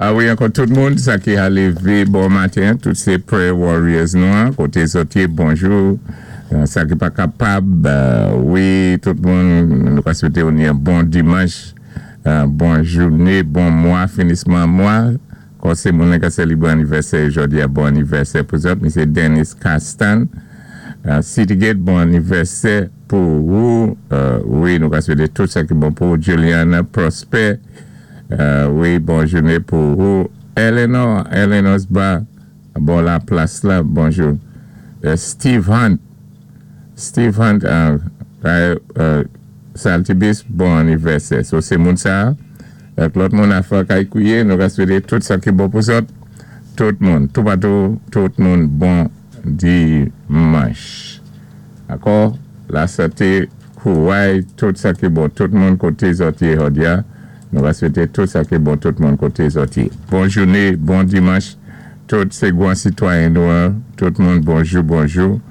A wi, ankò tout moun, sa ki a lévé bon maten, tout sé prayer warriors nou an, koté zòt yé, bonjou. Sa ki pa kapab, wi, tout moun, nou ka swété ou ni yon bon dimanch, bon jouné, bon mwa, finisman mwa. Kon sé moun ka sélébré anivèsè jòdi a, bon anivèsè pou zòt. Misye Dennis Castan, Citygate, bon anivèsè pou ou. Wi, nou ka swété tout sa ki bon pou ou. Juliana Prosper, wi, bon jouné pou ou. Eleanor, Eleanor's Bar, bon la plas la, bonjou. Steve Hunt, Steve Hunt, Saltibus, bon anivèsè. So sé moun sa, ak lòt moun afè kay kwiye, nou ka swété tout sa ki bon pou zòt. Tout moun, toupatou, tout moun, bon dimanch. Ankò, lasanté, kouray, tout sa ki bon, tout moun koté zòt yé jòdi a, nou va swété tout sa ki bon tout moun koté zòt yé. Bon jouné, bon dimanch, tout sé gwan sitwayen nou an, tout moun bonjou bonjou.